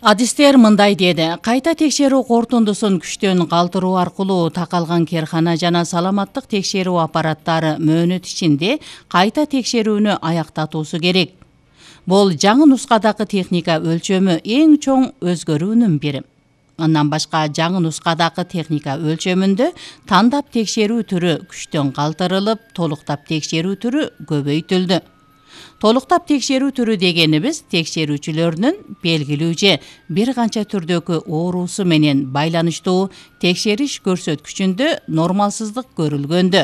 Адистер мындай деди. Кайта текшерүү корутундусун күчтөн калтыруу аркылуу такалган керхана жана саламаттык текшерүү аппараттары мөөнөт ичинде кайта текшерүүнү аяктатуусу керек. Бул жаңы нускадагы техника өлчөмү эң чоң өзгөрүүнүн бири. Андан башка жаңы нускадагы техника өлчөмүндө тандап текшерүү түрү күчтөн калтырылып, толуктап текшерүү түрү көбөйтүлдү. Толуктап текшерүү түрү дегенибиз текшерүүчүлөрдүн белгилүү же бир канча түрдөгү оорусу менен байланыштуу текшериш көрсөткүчүндө нормалсыздык көрүлгөндө,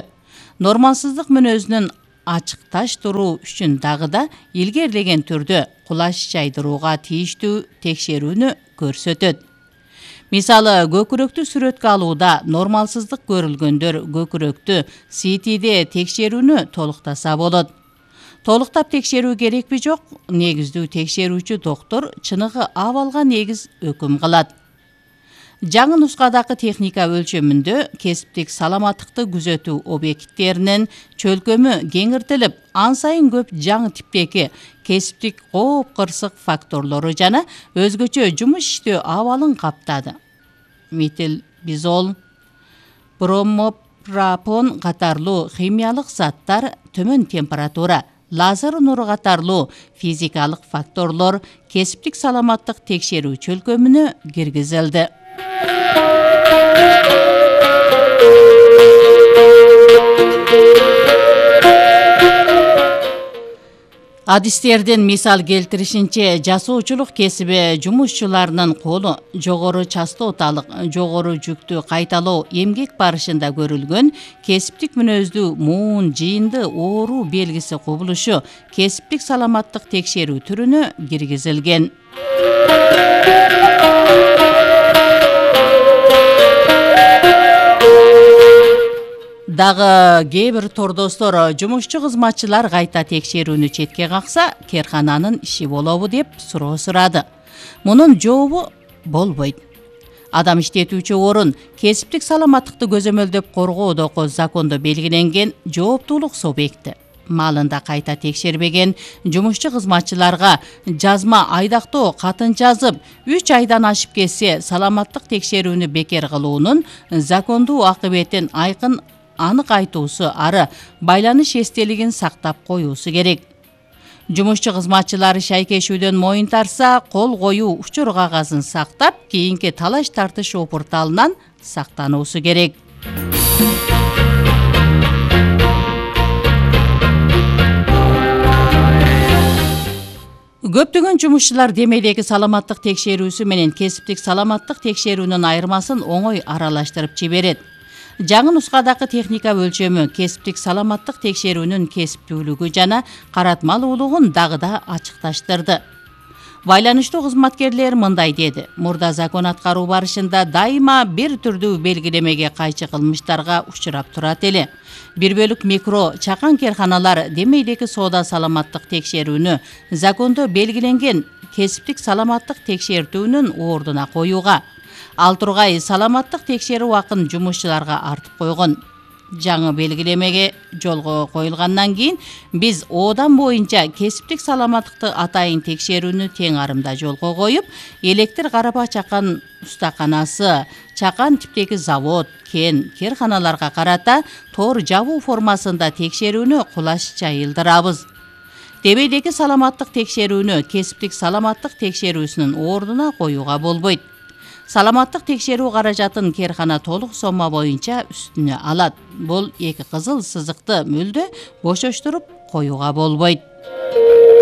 нормалсыздык мүнөзүнүн ачыкташтыруу үчүн дагы да илгерилеген түрдө кулаш жайдырууга тийиштүү текшерүүнү көрсөтөт. Мисалы, көкүрөктү сүрөткө алууда нормалсыздык көрүлгөндөр көкүрөктү СТде текшерүүнү толуктаса болот. Толуктап текшерүү керекпи жок? Негиздүү текшерүүчү доктор чыныгы абалга негиз өкүм кылат. Жаңы нускадагы техника өлчөмүндө кесиптик саламаттыкты күзөтүү объекттеринин чөлкөмү кеңиртилип, ан сайын көп жаңы типтеги кесиптик кооп-кырсык факторлору жана өзгөчө жумуш иштөө абалын каптады. Метилбизол, бромопропон катарлуу химиялык заттар, төмөн температура, лазер нуру катарлуу физикалык факторлор кесиптик саламаттык текшерүү чөлкөмүнө киргизилди. Адистердин мисал келтиришинче, жасоочулук кесиби жумушчуларынын колу жогору частоталык, жогору жүктү кайталоо эмгек барышында көрүлгөн кесиптик мүнөздүү муун жыйынды оору белгиси кубулушу кесиптик саламаттык текшерүү түрүнө киргизилген. Дагы кээ бир тордостор жумушчу кызматчылар кайта текшерүүнү четке какса, керхананын иши болобу деп суроо сурады. Мунун жообу болбойт. Адам иштетүүчү орун кесиптик саламаттыкты көзөмөлдөп коргоодогу закондо белгиленген жооптуулук субъекти. Маалында кайта текшербеген жумушчу кызматчыларга жазма айдактоо катын жазып, 3 айдан ашып кетсе саламаттык текшерүүнү бекер кылуунун закондуу акыбетин анык айтуусу ары байланыш эстелигин сактап коюусу керек. Жумушчу кызматчылары шайкешүүдөн моюн тарса, кол коюу учур кагазын сактап, кийинки талаш тартыш опурталынан сактануусу керек. Көптөгөн жумушчулар демейдеги саламаттык текшерүүсү менен кесиптик саламаттык текшерүүнүн айырмасын оңой аралаштырып жиберет. Жаңы нускадагы техника өлчөмү кесиптик саламаттык текшерүүнүн кесиптүүлүгү жана каратмалуулугун дагы да ачыкташтырды. Байланыштуу кызматкерлер мындай деди. Мурда закон аткаруу барышында дайыма бир түрдүү белгилемеге кайчы кылмыштарга учурап турат эле. Бир бөлүк микро, чакан керханалар демейдеги соода саламаттык текшерүүнү закондо белгиленген кесиптик саламаттык текшертүүнүн ордуна коюуга, ал тургай саламаттык текшерүү акын жумушчуларга артып койгон. Жаңы белгилемеге жолго коюлгандан кийин биз оодан боюнча кесиптик саламаттыкты атайын текшерүүнү тең арымда жолго коюп, электр карапа чакан устаканасы, чакан типтеги завод, кен, керханаларга карата тор жабуу формасында текшерүүнү кулаш жайылдырабыз. Демейдеги саламаттык текшерүүнү кесиптик саламаттык текшерүүсүнүн ордуна коюуга болбойт. Саламаттык текшерүү каражатын керхана толук сомма боюнча үстүнө алат. Бул эки кызыл сызыкты мүлдө бошоштуруп коюуга болбойт.